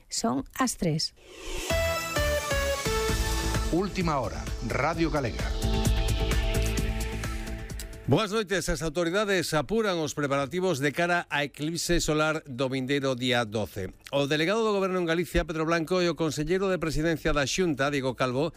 Son as 3. Última hora, Radio Galega. Boas noites. As autoridades apuran os preparativos de cara á eclipse solar do vindeiro día 12. O delegado do Goberno en Galicia, Pedro Blanco, e o conselleiro de Presidencia da Xunta, Diego Calvo,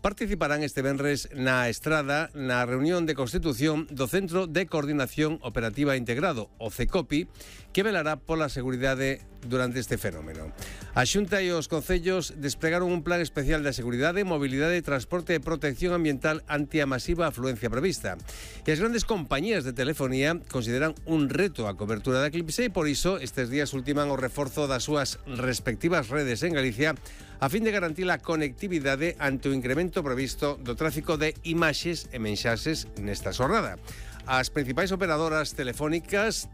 participarán este venres na Estrada na reunión de constitución do Centro de Coordinación Operativa Integrado, o CECOPI, que velará pola seguridade durante este fenómeno. A Xunta e os concellos despregaron un plan especial de seguridade, mobilidade, transporte e protección ambiental ante a masiva afluencia prevista. E as grandes compañías de telefonía consideran un reto a cobertura da eclipse e por iso estes días ultiman o reforzo das súas respectivas redes en Galicia a fin de garantir a conectividade ante o incremento previsto do tráfico de imaxes e mensaxes nesta xornada. As principais operadoras telefónicas,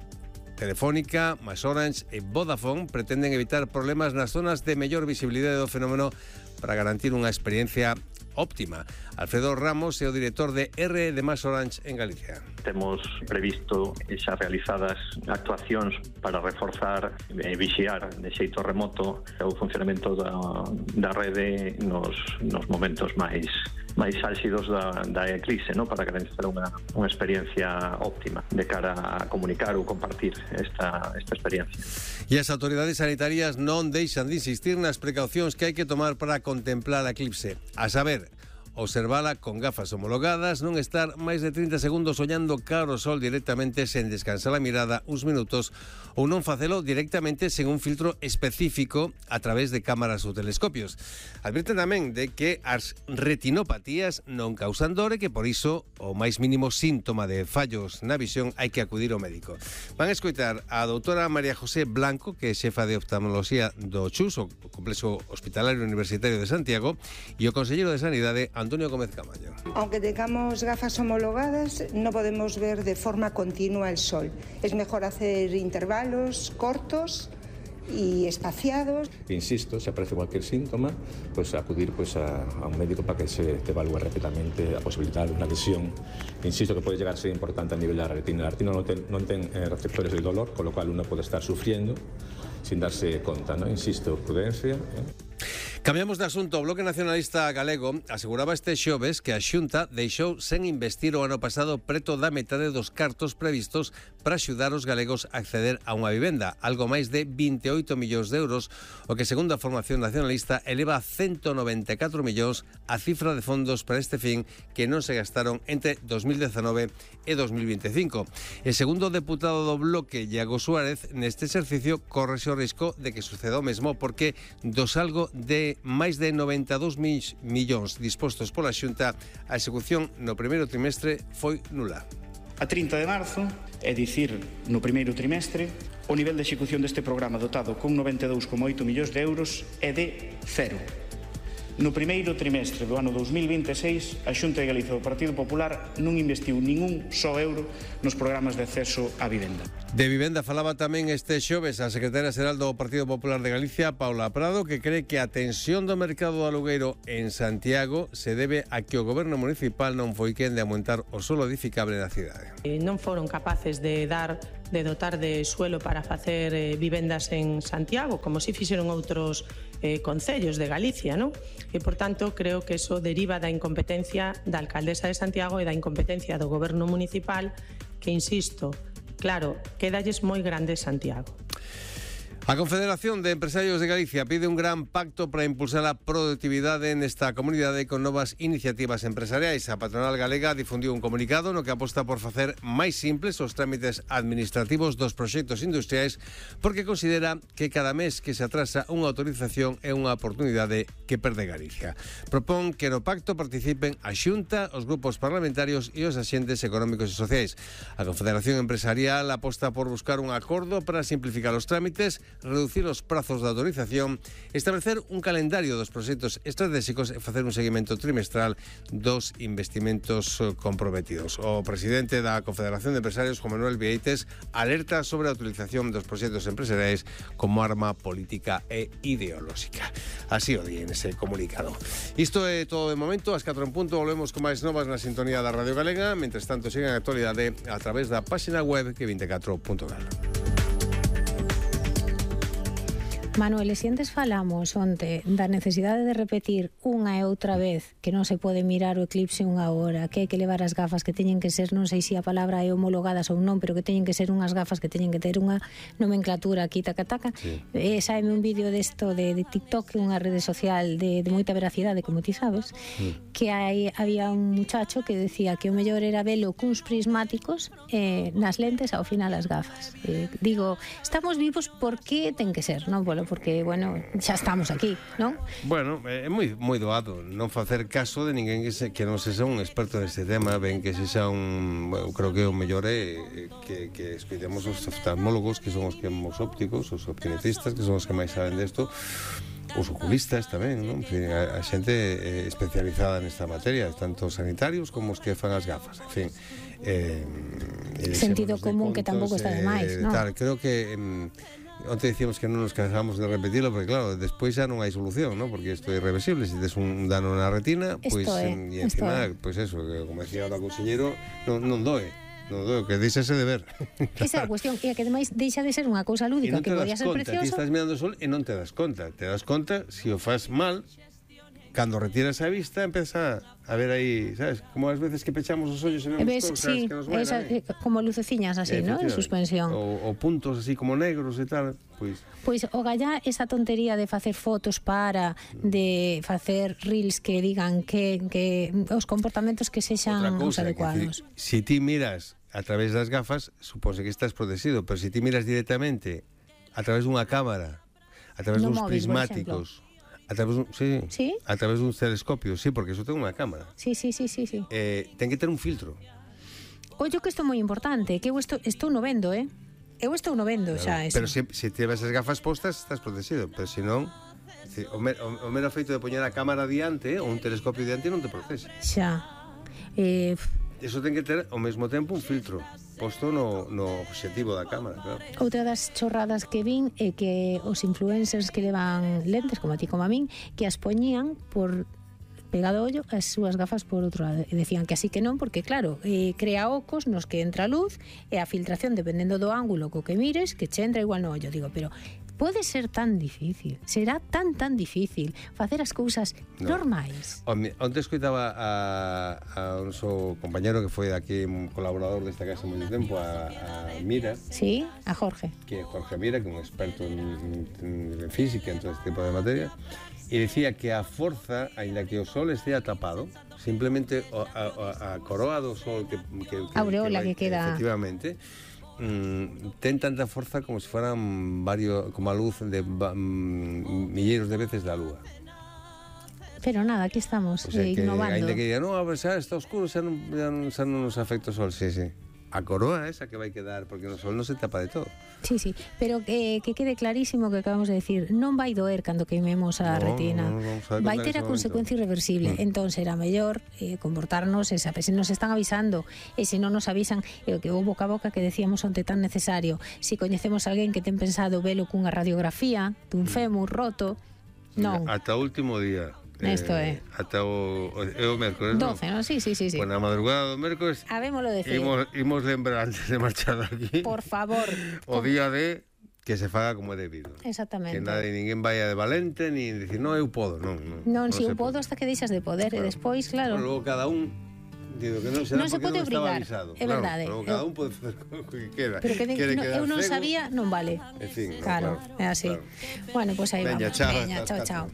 Telefónica, MásOrange e Vodafone, pretenden evitar problemas nas zonas de mellor visibilidade do fenómeno para garantir unha experiencia óptima. Alfredo Ramos é o director de R de MásOrange en Galicia. Temos previsto xa realizadas actuacións para reforzar e vixiar de xeito remoto o funcionamento da rede nos momentos máis álxidos da eclipse, ¿no? Para garantizar unha experiencia óptima de cara a comunicar ou compartir esta experiencia. E as autoridades sanitarias non deixan de insistir nas precaucións que hai que tomar para contemplar a eclipse. A saber, observala con gafas homologadas, non estar máis de 30 segundos ollando cara ao sol directamente sen descansar a mirada uns minutos ou non facelo directamente sen un filtro específico a través de cámaras ou telescopios. Advirten tamén de que as retinopatías non causan dor e que por iso o máis mínimo síntoma de fallos na visión hai que acudir ao médico. Van a escoitar a doutora María José Blanco, que é xefa de oftalmoloxía do CHUS, o Complexo Hospitalario Universitario de Santiago, e o conselleiro de Sanidade, Antonio Gómez Camaño. Aunque tengamos gafas homologadas, no podemos ver de forma continua el sol. Es mejor hacer intervalos cortos y espaciados. Insisto, se aparece cualquier síntoma, pues acudir a un médico para que se te evalúe rápidamente a posibilidad de una lesión. Insisto que puede llegar a ser importante a nivel de la retina. La retina non ten receptores del dolor, con lo cual uno puede estar sufriendo sin darse conta, ¿no? Insisto, prudencia. Cambiamos de asunto. O Bloque Nacionalista Galego aseguraba este xoves que a Xunta deixou sen investir o ano pasado preto da metade dos cartos previstos para axudar os galegos a acceder a unha vivenda, algo máis de 28 millóns de euros, o que segundo a formación nacionalista eleva a 194 millóns a cifra de fondos para este fin que non se gastaron entre 2019 e 2025. E segundo o deputado do Bloque, Iago Suárez, neste exercicio corre o risco de que suceda o mesmo porque do salgo de máis de 92 millóns dispostos pola Xunta, a execución no primeiro trimestre foi nula. A 30 de marzo, é dicir, no primeiro trimestre, o nivel de execución deste programa dotado con 92,8 millóns de euros é de cero. No primeiro trimestre do ano 2026, a Xunta de Galicia do Partido Popular non investiu ningún só euro nos programas de acceso á vivenda. De vivenda falaba tamén este xoves a secretaria xeral do Partido Popular de Galicia, Paula Prado, que cree que a tensión do mercado do alugueiro en Santiago se debe a que o goberno municipal non foi quen de aumentar o solo edificable na cidade. Non foron capaces de dotar de suelo para facer vivendas en Santiago, como si fixeron outros concellos de Galicia, non? E, por tanto, creo que eso deriva da incompetencia da alcaldesa de Santiago e da incompetencia do goberno municipal, que, insisto, claro, quedalles moi grande Santiago. A Confederación de Empresarios de Galicia pide un gran pacto para impulsar a productividade nesta comunidade con novas iniciativas empresariais. A patronal galega difundiu un comunicado no que aposta por facer máis simples os trámites administrativos dos proxectos industriais porque considera que cada mes que se atrasa unha autorización é unha oportunidade que perde Galicia. Propón que no pacto participen a Xunta, os grupos parlamentarios e os axentes económicos e sociais. A Confederación Empresarial aposta por buscar un acordo para simplificar os trámites, reducir os prazos de autorización, establecer un calendario dos proxectos estratégicos e facer un seguimento trimestral dos investimentos comprometidos. O presidente da Confederación de Empresarios, Juan Manuel Vieites, alerta sobre a utilización dos proxectos empresariais como arma política e ideolóxica. Así o di en ese comunicado. Isto é todo de momento. Ás 4 en punto volvemos con máis novas na sintonía da Radio Galega. Mentres tanto, sigan a actualidade a través da página web que24.gal. Manuel, e se antes falamos onte da necesidade de repetir unha e outra vez que non se pode mirar o eclipse unha hora, que hai que levar as gafas que teñen que ser, non sei se a palabra é homologadas ou non, pero que teñen que ser unhas gafas que teñen que ter unha nomenclatura aquí, taca-taca. Sí. Saime un vídeo desto de TikTok, unha rede social de moita veracidade, como ti sabes, que había un muchacho que decía que o mellor era velo cuns prismáticos nas lentes ao final as gafas. Digo, estamos vivos porque ten que ser, non? Porque, bueno, xa estamos aquí, non? Bueno, é moi doado non facer caso de ninguén que non sexa un experto neste tema, ben que sexa un... Bueno, creo que o mellor é que escoitemos os oftalmólogos, que son os ópticos, os optometristas, que son os que máis saben desto, os oculistas tamén, non? En fin, a xente especializada nesta materia, tanto sanitarios como os que fan as gafas, en fin. Sentido común que tampouco está de máis, non? Creo que... Onte dicíamos que non nos cansamos de repetirlo, porque claro, despois xa non hai solución, ¿no? Porque isto é irreversible. Se tes un dano na retina, pois e encima, pois eso, como decía o conselleiro, non doe. Non doe, que deixase de ver. Esa é a cuestión, e que ademais deixa de ser unha cousa lúdica que podía ser preciosa. Ti estás mirando o sol e non te das conta. Te das conta se o faz mal. Cando retiras a vista, empeza a ver aí, sabes? Como as veces que pechamos os ollos e vemos cousas que nos van como luceciñas así, ¿no? En suspensión. O puntos así como negros e tal, pois... Pois o gallá esa tontería de facer fotos de facer reels que digan que os comportamentos que sexan os adecuados. Se ti miras a través das gafas, supónse que estás protegido, pero se ti miras directamente a través dunha cámara, a través duns prismáticos... A través dun telescopio, sí, porque iso ten unha cámara. Sí. Ten que ter un filtro. Ollo que isto é moi importante, que eu estou no vendo, Eu estou no vendo xa eso. Pero se tivas as gafas postas, estás protegido, pero se non, o mero feito de poñer a cámara diante ou un telescopio diante non te protege. Xa. Iso ten que ter ao mesmo tempo un filtro posto no obxectivo da cámara, claro. Outra das chorradas que vin é que os influencers que levan lentes, como a ti como a min, que as poñían por pegado ollo as súas gafas por outro lado, e decían que así que non, porque claro, crea ocos nos que entra a luz e a filtración, dependendo do ángulo co que mires, que che entra igual no ollo. Digo, pero pode ser tan difícil, será tan difícil facer as cousas normais. Onte escoitaba a un noso compañero que foi aquí un colaborador desta casa moito tempo, a Mira. Sí, a Jorge. Que é Jorge Mira, que é un experto en física, en todo este tipo de materia, e dicía que a forza, aínda que o sol estea tapado, simplemente a coroa do sol que aureola que queda, efectivamente, ten tanta forza como se fueran como a luz de milleiros de veces da lúa. Pero nada, aquí estamos, innovando. Ainda que diga, non, xa está oscuro, xa non nos afecta o sol, sí. A coroa esa que vai quedar, porque o sol non se tapa de todo. Sí, pero que quede clarísimo que acabamos de decir, non vai doer cando queimemos a retina, vai ter a consecuencia irreversible. Entón será mellor comportarnos, se nos están avisando, e se non nos avisan, que o boca a boca que decíamos onte tan necesario, se coñecemos a alguén que ten pensado velo cunha radiografía dun fémur roto, non. Ata o último día. Isto é. Ata o mércores, 12, non? Sí. Pois na madrugada do mércores habémolo decir. Imos lembrar antes de marchar aquí. Por favor. O día de que se faga como é debido. Exactamente. Que ninguén vaya de valente ni dicir, non, eu podo, non. Non, se eu podo hasta que deixas de poder, e despois, claro. Logo cada un digo que non se pode obrigar, é verdade. Claro, cada un pode facer o que queda. Pero que eu non sabía, non vale. En fin, claro, é así. Claro. Bueno, pois aí vamos. Veña, chao.